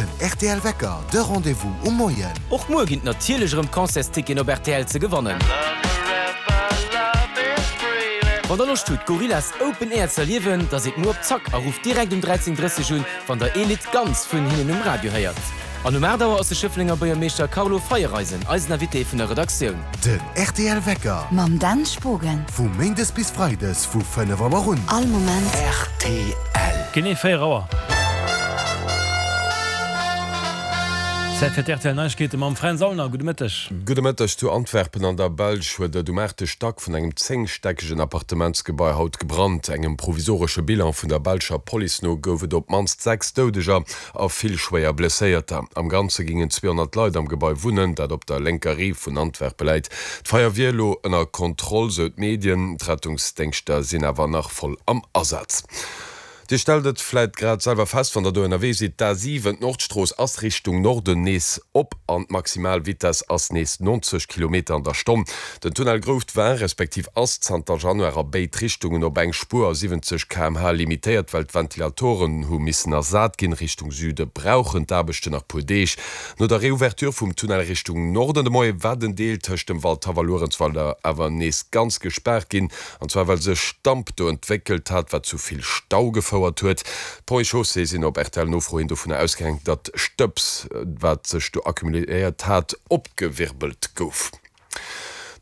Den rtl Wecker, de Rendez-vous um Moien. Och muer ginn et natierlech erëm Concertsticketen op rtl ze gewannen. Wann der Loscht hutt Gorillaz Open Air ze erliewen, da sidd muer op Zack a rufft direkt um 13:30 un, wann der ee Lidd ganz vun hinnen um Radio héiert. An um 8 Auer ass de Schëfflenger Buergermeeschter Carlo Feiereisen eisen Invité vun der Redaktioun. Den rtl Wecker. Mam Dan Spogen. Vu Méindes bis Freides vu 5 Auer un. All Moment. Rtl. Genee 4 Auer. Zäit fir d'RTL Neiegkeete mam Fränz Aulner. Gudde Mëtteg. Gudde Mëtteg. Zu Antwerpen an der Belsch huet et um aachte Stack vun engem zéngstäckegen Appartementsgebai haut gebrannt. Engem provisoresche Bilan vun der belscher Police no gouf et op d'mannst 6 Doudeger a vill schwéier Blesséierter. Am Ganze gingen 200 Leit am Gebai wunnen, dat op der lénker Rive vun Antwerpe läit. D'Feier wier elo ënner Kontroll, sou d'Medien. D'Rettungsdéngschter sinn awer nach voll am Asaz. Dir stellt et vläit grad selwer fest, wann der do ënnerwee sidd, D'A7, d'Nordstrooss, ass Richtung Norden nees op an d'Maximalvitess ass nees 90 Kilometer an der Stonn. Den Tunnel Grouft war, respektiv ass zanter Januar a béid Richtungen op eng Spuer a 70 km/h limitéiert, well d'Ventilatoren hu missen ersat ginn. Richtung Süde brauchen d'Aarbechten nach puer Deeg. No der Reouverture vum Tunnel Richtung Norden de Moie war den Deel tëscht dem Waldhaff a Luerenzweiler awer nees ganz gespaart ginn, an zwar well sech Damp do entwéckelt hat, wat zu vill Stau gefouert huet. D'Ponts et Chaussées sinn op RTL-Nofro hin dovunner ausgaang, datt Stëbs, wat sech do accumuléiert hat, opgewirbelt gouf.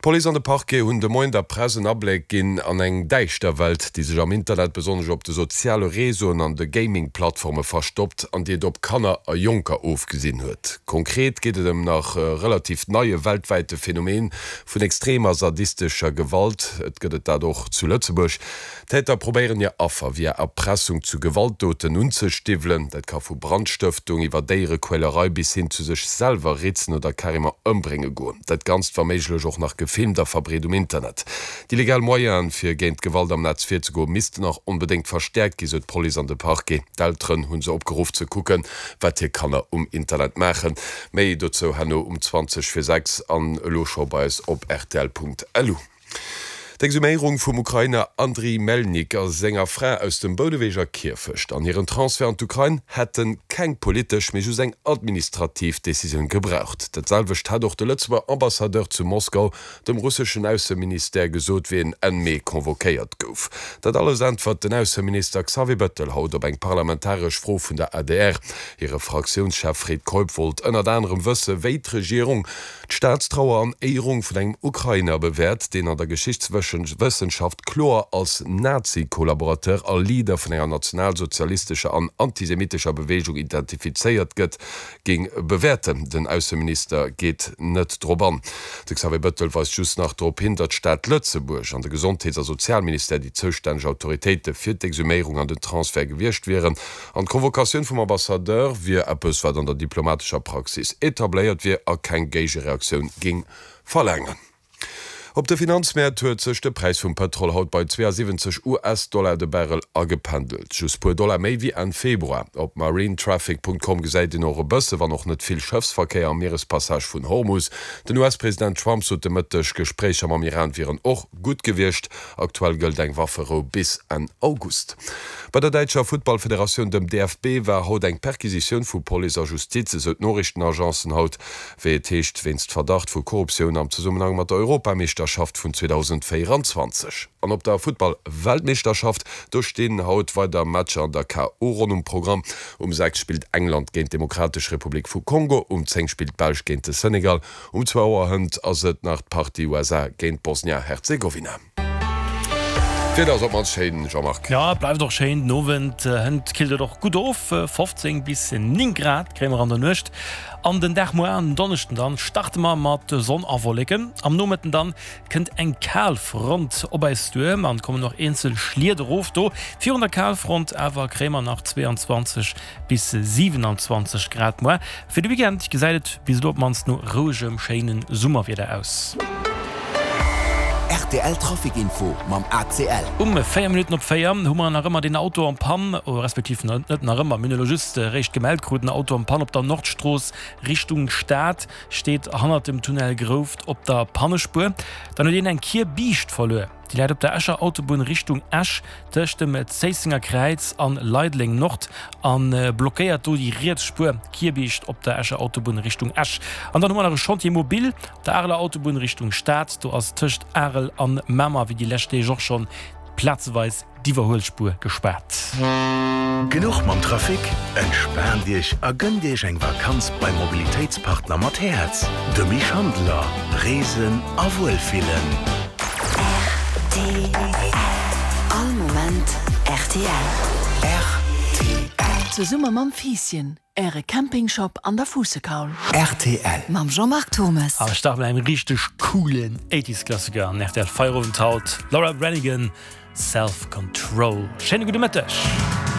D'Police an de Parquet hunn de Moien der Press en Abléck ginn an eng däischter Welt, déi sech am Internet, besonnesch op de soziale Réseauen an de Gaming-Plattforme verstoppt an déi et op Kanner a Jonker ofgesinn huet. Konkret geet et ëm nach relativ neie weltwäite Phänomen vun extremer sadistescher Gewalt. Et gëtt et dat och zu Lëtzebuerg. D'Täter probéieren hir Affer via Erpressung zu Gewaltdoten unzestiwwelen. Dat ka vu Brandstëftung iwwer Déierequälerei bis hin zu sech selwer ritzen oder carrément ëmbrénge goen. Dat Ganzt wa méiglech och nach gefilmt a verbreet um Internet. Déi legal Moyenen, fir géint d'Gewalt am Netz virzegoen, missten och onbedéngt verstäerkt ginn, sou d'Police an de Parquet. D'Elteren hu se opgeruff ze kucken, wat hir Kanner um Internet maachen. Méi dozou herno um 20 vir 6 an elo scho bei eis op rtl.lu. D'Exhuméierung vum Ukrainer Andriy Melnyk a senger Fra aus dem Bouneweger Kierfecht an hiren Transfert an d'Ukrain hätte keng politesch, mee just eng administrativ Decisioun gebraucht. Dat selwecht hat och de Lëtzebuerger Ambassadeur zu Moskau dem russeschen Ausseministère gesot, wéi en Enn Mee convoquéiert gouf. Dat alles äntwert den Ausseminister Xavier Bettel haut op eng parlamentaresch Fro vun der adr. Hire Fraktiounschef Fred Keup wollt ënnert anerem wësse wéi d'Regierung D'Staatstrauer an Éierung vun engem Ukrainer bewäert, deen an der Geschichtswëssenschaft kloer als Nazi-Kollaborateur a Leader vun enger nationalsozialistescher an antisemitescher Beweegung identifizéiert gëtt, géing bewäerten. Den Ausseminister geet net drop an. De Xavier Bettel weist just nach drop hin, datt d'Stad Lëtzebuerg an de Gesondheets a Sozialministère déi zoustänneg Autoritéite fir d'Exhuméierung an den Transfert gewiescht wieren. An d'Convocatioun vum Ambassadeur wier eppes, wat an der diplomatescher Praxis etabléiert wier a keng Géigereaktioun géing verlaangen. Op de Finanzmäert huet sech de Präis vum Pëtrol haut bei 72 US-Dollar de Barrel agependelt, just puer Dollar méi wéi Enn Februar. Op marinetraffic.com gesäit een och e bësse, wann och net vill, Schëffsverkéier am Mierespassage vun Hormus. Den US-President Trump sot de Mëtteg, Gespréicher mam Iran wieren och gutt gewiescht. Aktuell gëllt eng Wafferou bis Enn August. Bei der däitscher Futtballfederatioun, dem DFB, war haut eng Perquisitioun vu Police a Justiz, esou d'Noriichtenagencen haut. Wéi et heescht, wéinst Verdacht vu Korruptioun am Zesummenhang mat der Europameeschterschaft vun 2024. An op der Futtball-Weltmeeschterschaft, do stinn haut weider Matcher an der KO-Ronn um Programm. Um 6 spillt England géint d'Demokratesch Republik vu Kongo, um 10 spillt d'Belsch géint de Senegal Um zwou Auer hënt ass et nach d'Partie USA géint Bosnia-Herzegowina. D'Wieder ass op mannst schéin, Jean-Marc. Jo, et bleift och schéin den Owend. Hënt killt et och gutt of, 15 bis 9 Grad kréie mer an der Nuecht. An den Dag muer an den Donneschden dann starte mer mat Sonn a Wolleken. Am Nomëtten dann kënnt eng Kalfront op eis duer an kommen och eenzel Schliet erof. Do virun der Kalfront awer kréie mer nach 22 Bis 27 Grad muer. Fir de Weekend gesäit et bis elo op d'mannst no rouegem, schéine Summerwieder aus. Rtl Trafic Info mam ACL. Um 4 Minutten op 4 hu mer nach ëmmer deen Auto en panne, respektiv net nach ëmmer, mir hunn elo just eréischt gemellt krut, en Auto en panne op der Nordstrooss Richtung Stad, steet hannert dem Tunnel Grouft op der Pannespuer. Dann huet een eng Kierbiischt verluer. Déi läit op der Escher Autobunn Richtung Esch tëscht dem Zéissenger Kräiz an Leideleng Nord an blockéiert do déi riets Spuer Kierbiischt op der Escher Autobunn Richtung Esch. An dann hu mer nach e Chantier mobile op der Areler Autobunn Richtung Stad. Do ass tëscht Arel an Mamer wéi déi lescht Deeg och schonn plazeweis d'Iwwerhuelspuer gespaart. Genuch mam Trafic? Entspaant Iech a gënnt Iech eng Vakanz beim Mobilitéitspartner mat Häerz, de Mich Handeler. Reesen a Wuelfillen. Rtl. All Moment rtl. Rtl. Zesumme mam Fiisschen, Äre Campingshop an der Fuussekaul. Rtl. Mam Jean-Marc Turmes. A mir starten mat engem richteg coolen Eighties Klassiker an rtl Feierowend haut, Laura Branigan, Self Control. Schéine gudde Mëtteg.